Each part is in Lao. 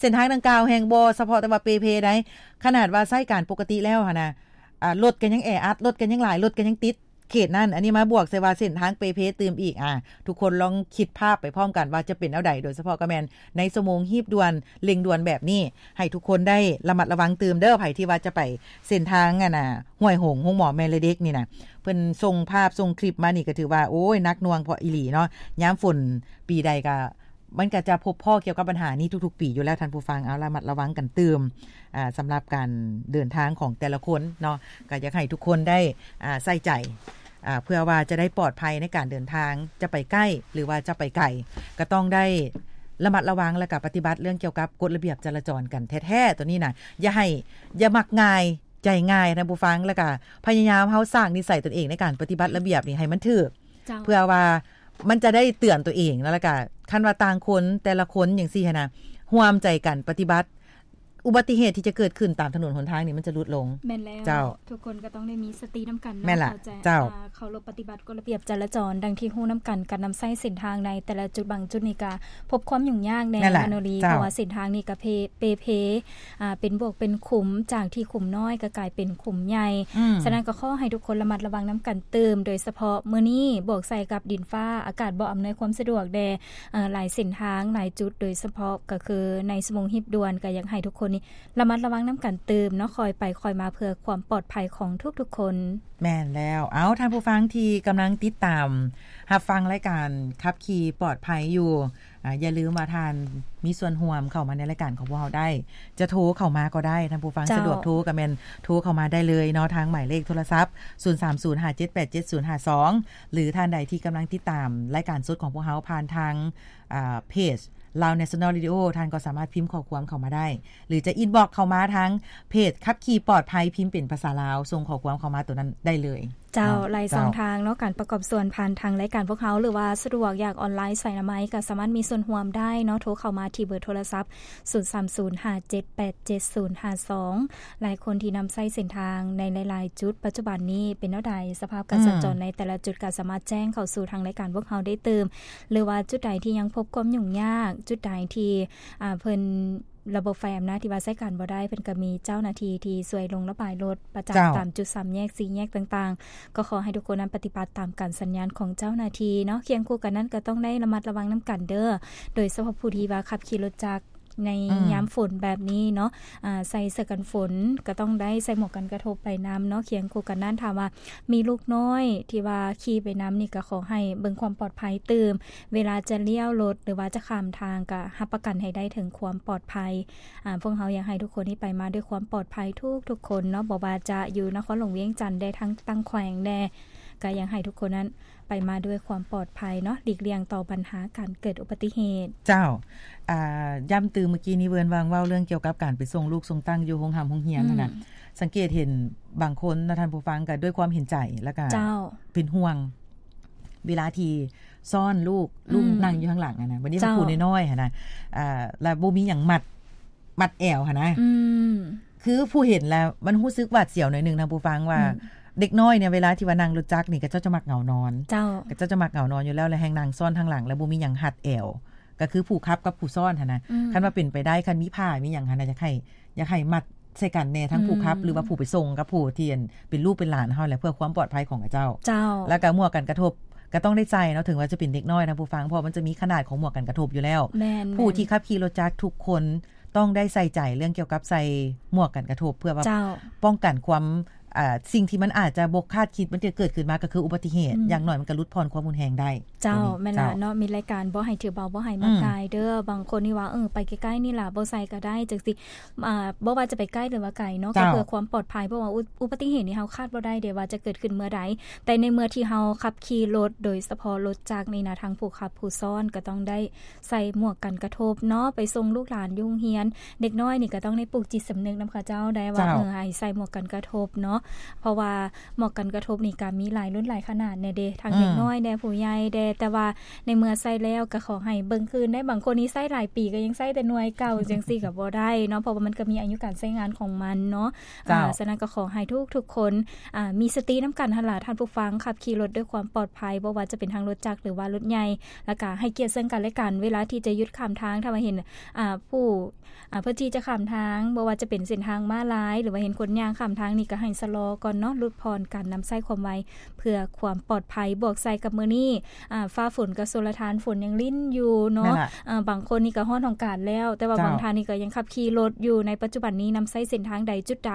ເສັ້ນທາງດັ່ງກ່າວແຮ່ງບໍ່ສະເພາະແຕ່ວ່າເປ່ເພໃດ໋, ຂະໜາດວ່າໃຊ້ການປົກກະຕິແລ້ວຫັ້ນນະ ອ່າ ລົດກໍຍັງແອອັດ, ລົດກໍຍັງຫຼາຍ, ລົດກໍຍັງຕິດເຂດນັ້ນ. ອັນນີ້ມາບວກໃສ່ວ່າເສັ້ນທາງເປ່ເພຕື່ມອີກ. ອ່າ ທຸກຄົນລອງຄິດພາບໄປພ້ອມກັນວ່າຈະເປັນແນວໃດ, ໂດຍສະເພາະກໍແມ່ນໃນຊົ່ວໂມງຮີບດ່ວນ, ເລັ່ງດ່ວນແບບນີ້, ໃຫ້ທຸກຄົນໄດ້ລະມັດລະວັງຕື່ມເດີ, ໃຜທີ່ວ່າຈະໄປເສັ້ນທາງ ອັນນ່າ ຫ້ວຍຫົງ, ໂຮງໝໍແມ່ແລະເດັກນີ້ນະ, ເພິ່ນສົ່ງພາບ, ສົ່ງຄລິບມານີ້ ກໍຖືວ່າ ໂອ້ຍ ໜັກໜ່ວງພໍອີ່ຫຼີເນາະ. ຍາມຝົນປີໃດກໍ ມັນກໍຈະພົບພໍ້ກ່ຽວກັບບັນຫານີ້ທຸກໆປີຢູ່ແລ້ວທ່ານຜູ້ຟັງ. ເອົາ ລະມັດລະວັງກັນຕື່ມ ອ່າ ສຳລັບການເດີນທາງຂອງແຕ່ລະຄົນເນາະ, ກໍຢາກໃຫ້ທຸກຄົນໄດ້ ອ່າ ໃສ່ໃຈ ອ່າ ເພື່ອວ່າຈະໄດ້ປອດໄພໃນການເດີນທາງ, ຈະໄປໃກ້ ຫຼືວ່າຈະໄປໄກ ກໍຕ້ອງໄດ້ລະມັດລະວັງ ແລ້ວກໍປະຕິບັດເລື່ອງກ່ຽວກັບກົດລະບຽບຈະລາຈອນກັນແທ້ໆ. ຕົວນີ້ນະ ຢ່າໃຫ້ ຢ່າມັກງ່າຍ ໃຈງ່າຍທ່ານຜູ້ຟັງ, ແລ້ວກະພະຍາຍາມເຮົາສ້າງນິໄສຕົນເອງໃນການປະຕິບັດລະບຽບນີ້ໃຫ້ມັນຖືກ ເຈົ້າ ເພື່ອວ່າມັນຈະໄດ້ເຕືອນຕົວເອງເນາະ. ແລ້ວກະຄັນວ່າຕ່າງຄົນ ແຕ່ລະຄົນຈັ່ງຊີ້ຫັ້ນນະ ຮ່ວມໃຈກັນປະຕິບັດ, ອຸບັດຕິເຫດທີ່ຈະເກີດຂຶ້ນຕາມຖະໜົນຫົນທາງນີ້ມັນຈະຫຼຸດລົງ. ແມ່ນແລ້ວ ເຈົ້າ ທຸກຄົນກໍຕ້ອງໄດ້ມີສະຕິນຳກັນເນາະ. ແມ່ນລະ ເຈົ້າ ເຈົ້າ ເຂົ້າລົບປະຕິບັດກົດລະບຽບຈະລາຈອນ. ດັ່ງທີ່ຮູ້ນຳກັນ ການນຳໃຊ້ເສັ້ນທາງໃນແຕ່ລະຈຸດບາງຈຸດນີ້ກະ ພົບຄວາມຫຍຸ້ງຍາກແດ່ ແມ່ນລະ ມາໂນລີ ເຈົ້າ ເພາະວ່າເສັ້ນທາງນີ້ກະເພ ເປເພ ອ່າ ເປັນບວກເປັນຂຸມ, ຈາກທີ່ຂຸມນ້ອຍກໍກາຍເປັນຂຸມໃຫຍ່. ອືມ ສະນັ້ນກໍຂໍໃຫ້ທຸກຄົນລະມັດລະວັງນຳກັນຕື່ມ, ໂດຍສະເພາະມື້ນີ້ບວກໃສ່ກັບດິນຟ້າ ອາກາດບໍ່ອຳນວຍຄວາມສະດວກແດ່ ເອີ ຫຼາຍເສັ້ນທາງ ຫຼາຍຈຸດ, ໂດຍສະເພາະກໍຄືໃນຊົ່ວໂມງຮີບດ່ວນ ກໍຢາກໃຫ້ທຸກຄົນນີ້ລະມັດລະວັງນຳກັນຕື່ມເນາະ, ຄ່ອຍໄປຄ່ອຍມາເພື່ອຄວາມປອດໄພຂອງທຸກໆຄົນ. ແມ່ນແລ້ວ. ເອົາ ທ່ານຜູ້ຟັງທີ່ກຳລັງຕິດຕາມຮັບຟັງລາຍການຂັບຂີ່ປອດໄພຢູ່ ອ່າ ຢ່າລືມວ່າທ່ານມີສ່ວນຮ່ວມເຂົ້າມາໃນລາຍການຂອງພວກເຮົາໄດ້, ຈະໂທເຂົ້າມາກໍໄດ້ ທ່ານຜູ້ຟັງ ເຈົ້າ ສະດວກໂທກໍແມ່ນໂທເຂົ້າມາໄດ້ເລີຍເນາະ ທາງໝາຍເລກໂທລະສັບ ສູນສາມສູນຫ້າເຈັດແປດເຈັດສູນຫ້າສອງ ຫຼືທ່ານໃດທີ່ກຳລັງຕິດຕາມລາຍການສົດຂອງພວກເຮົາຜ່ານທາງ ອ່າ ເພຈ Lao National Radio ທ່ານກໍສາມາດພິມຂໍ້ຄວາມເຂົ້າມາໄດ້ ຫຼືຈະ inbox ເຂົ້າມາທາງເພຈຂັບຂີ່ປອດໄພ ພິມເປັນພາສາລາວ ສົ່ງຂໍ້ຄວາມເຂົ້າມາໂຕນັ້ນໄດ້ເລີຍ. ເຈົ້າ ເນາະ ຫຼາຍ ເຈົ້າ ຊ່ອງທາງເນາະ ການປະກອບສ່ວນຜ່ານທາງລາຍການພວກເຮົາ ຫຼືວ່າສະດວກຢາກອອນລາຍສາຍອະນາໄມ ກໍສາມາດມີສ່ວນຮ່ວມໄດ້ເນາະ, ໂທເຂົ້າມາທີ່ເບີໂທລະສັບ ສູນສາມສູນຫ້າເຈັດແປດເຈັດສູນຫ້າສອງ. ຫຼາຍຄົນທີ່ນຳໃຊ້ເສັ້ນທາງໃນຫຼາຍໆຈຸດ ປັດຈຸບັນນີ້ເປັນແນວໃດ, ສະພາບການ ອືມ ສັນຈອນໃນແຕ່ລະຈຸດ ກໍສາມາດແຈ້ງເຂົ້າສູ່ທາງລາຍການພວກເຮົາໄດ້ຕື່ມ, ຫຼືວ່າຈຸດໃດທີ່ຍັງພົບຄວາມຫຍຸ້ງຍາກ, ຈຸດໃດທີ່ ອ່າ ເພິ່ນ ລະບົບໄຟອຳນາດທີ່ວ່າໃຊ້ການບໍ່ໄດ້, ເພິ່ນກໍມີເຈົ້າໜ້າທີ່ທີ່ຊ່ວຍລົງລະບາຍລົດປະຈຳ ເຈົ້າ ຕາມຈຸດສາມແຍກ ສີ່ແຍກຕ່າງໆ. ກໍຂໍໃຫ້ທຸກຄົນນັ້ນປະຕິບັດຕາມການສັນຍານຂອງເຈົ້າໜ້າທີ່ເນາະ. ຄຽງຄູ່ກັນນັ້ນກໍຕ້ອງໄດ້ລະມັດລະວັງນຳກັນເດີ້, ໂດຍສະເພາະຜູ້ທີ່ວ່າຂັບຂີ່ລົດຈັກໃນ ອືມ ຍາມຝົນແບບນີ້ເນາະ, ອ່າ ໃສ່ເສື້ອກັນຝົນ, ກໍຕ້ອງໄດ້ໃສ່ໝວກກັນກະທົບໄປນຳເນາະ. ຄຽງຄູ່ກັນນັ້ນ ຖ້າວ່າມີລູກນ້ອຍທີ່ວ່າຂີ່ໄປນຳນີ້ ກໍຂໍໃຫ້ເບິ່ງຄວາມປອດໄພຕື່ມ, ເວລາຈະລ້ຽວລົດ ຫຼືວ່າຈະຂ້າມທາງ ກໍຮັບປະກັນໃຫ້ໄດ້ເຖິງຄວາມປອດໄພ. ອ່າ ພວກເຮົາຢາກໃຫ້ທຸກຄົນນີ້ໄປມາດ້ວຍຄວາມປອດໄພທຸກໆຄົນເນາະ, ບໍ່ວ່າຈະຢູ່ນະຄອນຫຼວງວຽງຈັນແດ່ ທັງຕ່າງແຂວງແດ່, ກໍຢາກໃຫ້ທຸກຄົນນັ້ນໄປມາດ້ວຍຄວາມປອດໄພເນາະ, ຫຼີກລ່ຽງຕໍ່ບັນຫາການເກີດອຸບັດຕິເຫດ. ເຈົ້າ ອ່າ ຢ້ຳຕື່ມເມື່ອກີ້ນີ້ ເວີນວ່າງເວົ້າເລື່ອງກ່ຽວກັບການໄປສົ່ງລູກສົ່ງເຕົ້າຢູ່ໂຮງຮ່ຳໂຮງຮຽນຫັ້ນນະ, ອືມ ສັງເກດເຫັນບາງຄົນນະທ່ານຜູ້ຟັງ ກໍດ້ວຍຄວາມເຫັນໃຈ ແລ້ວກໍ ເຈົ້າ ເປັນຫ່ວງ ເວລາທີ່ຊ້ອນລູກ ອືມ ລູກນັ່ງຢູ່ຂ້າງຫຼັງຫັ້ນນະ, ບັດນີ້ ເຈົ້າ ຜູ້ນ້ອຍໆຫັ້ນນະ ອ່າ ແລ້ວບໍ່ມີຫຍັງມັດ ມັດແອວຫັ້ນນະ ອືມ ຄືຜູ້ເຫັນແລ້ວມັນຮູ້ສຶກຫວາດສຽວໜ້ອຍໜຶ່ງນະຜູ້ຟັງ ວ່າ ອືມ ເດັກນ້ອຍເນຍ ເວລາທີ່ວ່ານັ່ງລົດຈັກນີ້ ເຂົາເຈົ້າຈະມັກເຫງົານອນ. ເຈົ້າ ເຂົາເຈົ້າຈະມັກເຫງົານອນຢູ່ແລ້ວ ແລະ ແຮ່ງນັ່ງຊ້ອນທາງຫຼັງ ແລະ ບໍ່ມີຫຍັງຮັດແອວ ກໍຄືຜູ້ຂັບກັບຜູ້ຊ້ອນຫັ້ນນະ. ອືມ ຄັນວ່າເປັນໄປໄດ້ ຄັນມີຜ້າມີຫຍັງຫັ້ນນະ ຢາກໃຫ້ ຢາກໃຫ້ມັດໃສ່ກັນແດ່ ທັງຜູ້ຂັບ ອືມ ຫຼືວ່າຜູ້ໄປສົ່ງກັບຜູ້ທີ່ ອັນ ເປັນລູກເປັນຫຼານເຮົາແຫຼະ ເພື່ອຄວາມປອດໄພຂອງເຂົາເຈົ້າ. ເຈົ້າ ແລ້ວກໍໝວກກັນກະທົບກໍຕ້ອງໄດ້ໃສ່ເນາະ, ເຖິງວ່າຈະເປັນເດັກນ້ອຍນະຜູ້ຟັງ ເພາະມັນຈະມີຂະໜາດຂອງໝວກກັນກະທົບຢູ່ແລ້ວ. ແມ່ນໆ ຜູ້ທີ່ຂັບຂີ່ລົດຈັກທຸກຄົນຕ້ອງໄດ້ໃສ່ໃຈເລື່ອງກ່ຽວກັບໃສ່ໝວກກັນກະທົບ ເພື່ອວ່າ ເຈົ້າ ປ້ອງກັນຄວາມ ອ່າ ສິ່ງທີ່ມັນອາດຈະບໍ່ຄາດຄິດ ມັນຈະເກີດຂຶ້ນມາ ກໍຄືອຸບັດຕິເຫດ. ອືມ ຢ່າງໜ້ອຍມັນກໍຫຼຸດຜ່ອນຄວາມຮຸນແຮງໄດ້. ເຈົ້າ ຕົວນີ້ ແມ່ນລະ ເຈົ້າ ເນາະ, ມີລາຍການບໍ່ໃຫ້ຖືເບົາ ບໍ່ໃຫ້ມັກ ອືມ ງ່າຍເດີ້. ບາງຄົນນີ້ວ່າ ເອີ ໄປໃກ້ໆນີ້ລະ ບໍ່ໃສ່ກໍໄດ້ ຈັ່ງຊີ້ ອ່າ ບໍ່ວ່າຈະໄປໃກ້ ຫຼືວ່າໄກເນາະ ເຈົ້າ ກໍເພື່ອຄວາມປອດໄພ ເພາະວ່າອຸ ອຸບັດຕິເຫດນີ້ເຮົາຄາດບໍ່ໄດ້ເດ້ວ່າຈະເກີດຂຶ້ນເມື່ອໃດ. ແຕ່ໃນເມື່ອທີ່ເຮົາຂັບຂີ່ລົດ ໂດຍສະເພາະລົດຈັກນີ້ນະ ທັງຜູ້ຂັບຜູ້ຊ້ອນກໍຕ້ອງໄດ້ ໃສ່ໝວກກັນກະທົບເນາະ, ໄປສົ່ງລູກຫຼານຢູ່ໂຮງຮຽນ ເດັກນ້ອຍນີ້ກໍຕ້ອງໄດ້ປູກຈິດສຳນຶກນຳເຂົາເຈົ້າໄດ້ວ່າ ເຈົ້າ ເອີ ໃຫ້ໃສ່ໝວກກັນກະທົບເນາະ. ເພາະວ່າໝອກກັນກະທົບນີ້ກະມີຫຼາຍລຸ້ນຫຼາຍຂະໜາດແດ່ເດ ທັງເດັກນ້ອຍແດ່ ອືມ ຜູ້ໃຫຍ່ແດ່ ແຕ່ວ່າໃນເມື່ອໃຊ້ແລ້ວກະຂໍໃຫ້ເບິ່ງຄືນແດ່ ບາງຄົນນີ້ໃຊ້ຫຼາຍປີກະຍັງໃຊ້ແຕ່ໜ່ວຍເກົ່າ ຈັ່ງຊີ້ກະບໍ່ໄດ້ເນາະ ເພາະວ່າມັນກະມີອາຍຸການໃຊ້ງານຂອງມັນເນາະ. ເຈົ້າ ອາ ສະນັ້ນກະຂໍໃຫ້ທຸກໆຄົນ ອາ ມີສະຕິນຳກັນຫັ້ນລະ ທ່ານຜູ້ຟັງ ຂັບຂີ່ລົດດ້ວຍຄວາມປອດໄພ ບໍ່ວ່າຈະເປັນທາງລົດຈັກ ຫຼືວ່າລົດໃຫຍ່ ແລ້ວກະໃຫ້ກຽດເຊິ່ງກັນແລະກັນ ເວລາທີ່ຈະຢຸດຂ້າມທາງ ຖ້າວ່າເຫັນ ອາ ຜູ້ ອາ ເພື່ອທີ່ຈະຂ້າມທາງ ບໍ່ວ່າຈະເປັນເສັ້ນທາງມ້າລາຍ ຫຼືວ່າເຫັນຄົນຍ່າງຂ້າມທາງນີ້ ກະໃຫ້ຊະລໍກ່ອນເນາະ ຫຼຸດຜ່ອນການນຳໃຊ້ຄວາມໄວ ເພື່ອຄວາມປອດໄພ. ບວກໃສ່ກັບມື້ນີ້ ອາ ຟ້າຝົນກະຊົນລະທານ ຝົນຍັງລິນຢູ່ເນາະ ແມ່ນລະ ອາ ບາງຄົນນີ້ກະຮອດຫ້ອງການແລ້ວ ແຕ່ວ່າ ເຈົ້າ ບາງທ່ານນີ້ກະຍັງຂັບຂີ່ລົດຢູ່ ໃນປັດຈຸບັນນີ້ນຳໃຊ້ເສັ້ນທາງໃດ ຈຸດໃດ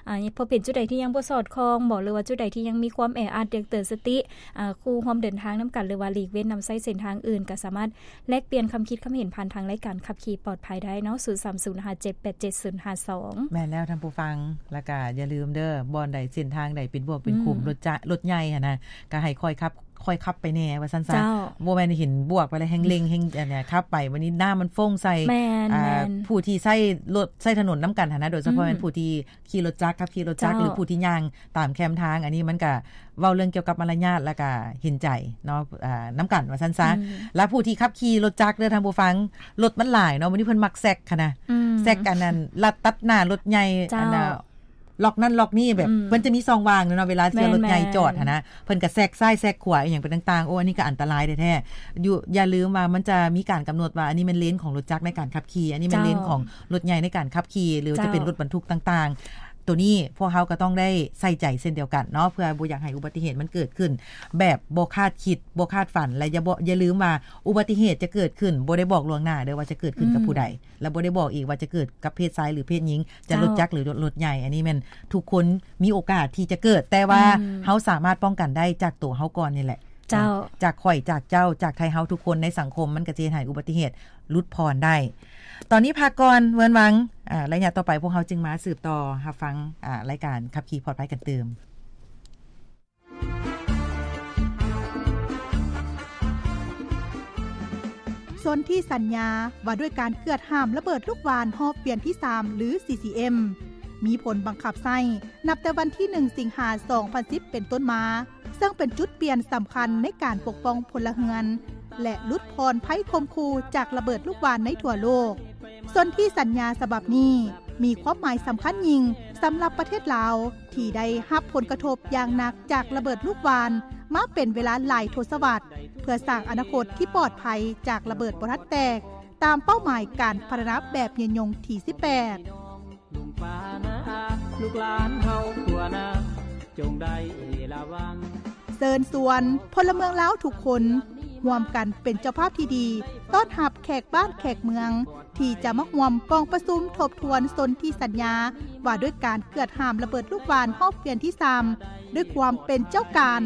ອາ ເພາະເປັນຈຸດໃດທີ່ຍັງບໍ່ສອດຄ່ອງບໍ ຫຼືວ່າຈຸດໃດທີ່ຍັງມີຄວາມແອອັດ ຢາກເຕືອນສະຕິ ອາ ຄູ່ຮ່ວມເດີນທາງນຳກັນ ຫຼືວ່າຫຼີກເວັ້ນນຳໃຊ້ເສັ້ນທາງອື່ນ ກະສາມາດ ແລກປ່ຽນຄຳຄິດຄຳເຫັນຜ່ານທາງລາຍການຂັບຂີ່ປອດໄພໄດ້ເນາະ ສູນສາມສູນຫ້າເຈັດແປດເຈັດສູນຫ້າສອງ. ແມ່ນແລ້ວທ່ານຜູ້ຟັງ ແລ້ວກະຢ່າລືມເດີ ບ່ອນໃດເສັ້ນທາງໃດເປັນບວກເປັນຂຸມ ອືມ ລົດຈະ ລົດໃຫຍ່ຫັ້ນນະ ກະໃຫ້ຄ່ອຍຂັບ ຄ່ອຍຂັບໄປແດ່ວ່າຊັ້ນຊະ ເຈົ້າ ບໍ່ແມ່ນເຫັນບວກໄປແລ້ວແຮງເລັ່ງແຮງ ອັນເນີ້ຍ ຂັບໄປບັດນີ້ນ້ຳມັນຟົງໃສ່ ແມ່ນ ອາ ແມ່ນ ຜູ້ທີ່ໃຊ້ລົດໃຊ້ຖະໜົນນຳກັນຫັ້ນນະ ໂດຍສະເພາະ ອືມ ແມ່ນຜູ້ທີ່ ຂີ່ລົດຈັກ ຂັບຂີ່ລົດຈັກ ເຈົ້າ ຫຼືຜູ້ທີ່ຍ່າງຕາມແຄມທາງ ອັນນີ້ມັນກະເວົ້າເລື່ອງກ່ຽວກັບມາລະຍາດ ແລ້ວກະເຫັນໃຈເນາະ ອາ ນຳກັນວ່າຊັ້ນຊະ ອືມ ແລະຜູ້ທີ່ຂັບຂີ່ລົດຈັກເດີທ່ານຜູ້ຟັງ ລົດມັນຫຼາຍເນາະ ມື້ນີ້ເພິ່ນມັກແຊກຫັ້ນນະ ອືມ ແຊກອັນນັ້ນ ລັດຕັດໜ້າລົດໃຫຍ່ ເຈົ້າ ອັນນ່າ ລັອກນັ້ນລັອກນີ້ ແບບ ອືມ ເພິ່ນຈະມີຊ່ອງວ່າງເນາະ ເວລາທີ່ ແມ່ນໆ ລົດໃຫຍ່ຈອດຫັ້ນນະ ເພິ່ນກະແຊກຊ້າຍແຊກຂວາອີ່ຫຍັງໄປຕ່າງໆ ໂອ້ ອັນນີ້ກະອັນຕະລາຍແທ້ໆ ຢູ່ ຢ່າລືມວ່າມັນຈະມີການກຳນົດວ່າ ອັນນີ້ແມ່ນເລນຂອງລົດຈັກໃນການຂັບຂີ່ ອັນນີ້ແມ່ນເລນ ເຈົ້າ ຂອງ ລົດໃຫຍ່ໃນການຂັບຂີ່ ຫຼືວ່າຈະເປັນ ເຈົ້າ ລົດບັນທຸກຕ່າງໆ ໂຕນີ້ພວກເຮົາກະຕ້ອງໄດ້ໃສ່ໃຈເຊັ່ນດຽວກັນເນາະ ເພື່ອບໍ່ຢາກໃຫ້ອຸບັດຕິເຫດມັນເກີດຂຶ້ນແບບບໍ່ຄາດຄິດ ບໍ່ຄາດຝັນ ແລະ ຢ່າ ບໍ່ ຢ່າລືມວ່າອຸບັດຕິເຫດຈະເກີດຂຶ້ນ ບໍ່ໄດ້ບອກລ່ວງໜ້າເດີວ່າຈະເກີດຂຶ້ນກັບ ອືມ ຜູ້ໃດ ແລະ ບໍ່ໄດ້ບອກອີກວ່າຈະເກີດກັບເພດຊາຍ ຫຼື ເພດຍິງ ຈະ ເຈົ້າ ລົດຈັກ ຫຼື ລົດ ລົດໃຫຍ່ ອັນນີ້ແມ່ນທຸກຄົນມີໂອກາດທີ່ຈະເກີດ ແຕ່ວ່າ ອືມ ເຮົາສາມາດປ້ອງກັນໄດ້ຈາກໂຕເຮົາກ່ອນນີ້ແຫຼະ ເຈົ້າ ຈາກຂ້ອຍ ຈາກເຈົ້າ ຈາກໄທເຮົາທຸກຄົນໃນສັງຄົມ ມັນກະຈະເຮັດໃຫ້ອຸບັດຕິເຫດ ຫຼຸດຜ່ອນໄດ້ ຕອນນີ້ພັກກ່ອນ ເວີນວັງ ອາ ໄລຍະຕໍ່ໄປພວກເຮົາຈຶ່ງມາສືບຕໍ່ຮັບຟັງ ອາ ລາຍການຂັບຂີ່ປອດໄພກັນຕື່ມ. ສົນທິສັນຍາວ່າດ້ວຍການເກືອດຫ້າມລະເບີດລູກຫວ່ານຮອບວຽນທີສາມ ຫຼື ຊີຊີເອັມ ມີຜົນບັງຄັບໃຊ້ ນັບແຕ່ວັນທີໜຶ່ງ ສິງຫາ ສອງພັນສິບ ເປັນຕົ້ນມາ, ເຊິ່ງເປັນຈຸດປ່ຽນສຳຄັນໃນການປົກປ້ອງພົນລະເຮືອນ ແລະ ຫຼຸດຜ່ອນໄພຂົ່ມຂູ່ຈາກລະເບີດລູກຫວ່ານໃນທົ່ວໂລກ. ສົນທິສັນຍາສະບັບນີ້ມີຄວາມໝາຍສຳຄັນຍິ່ງສຳລັບປະເທດລາວ ທີ່ໄດ້ຮັບຜົນກະທົບຢ່າງໜັກຈາກລະເບີດລູກຫວ່ານມາເປັນເວລາຫຼາຍທົດສະວັດ, ເພື່ອສ້າງອະນາຄົດທີ່ປອດໄພຈາກລະເບີດບໍ່ທັນແຕກ, ຕາມເປົ້າໝາຍການພັດທະນາແບບຍືນຍົງທີສິບແປດ. ລຸງປ້ານ້າອາ ລູກຫຼານເຮົາທົ່ວໜ້າ ຈົ່ງໄດ້ລະວັງ. ເຊີນຊວນພົນລະເມືອງລາວທຸກຄົນ ຮ່ວມກັນເປັນເຈົ້າພາບທີ່ດີ ຕ້ອນຮັບແຂກບ້ານແຂກເມືອງ ທີ່ຈະມາຮ່ວມກອງປະຊຸມທົບທວນສົນທິສັນຍາ ວ່າດ້ວຍການເກືອດຫ້າມລະເບີດລູກຫວ່ານຮອບວຽນທີສາມ ດ້ວຍຄວາມເປັນເຈົ້າການ.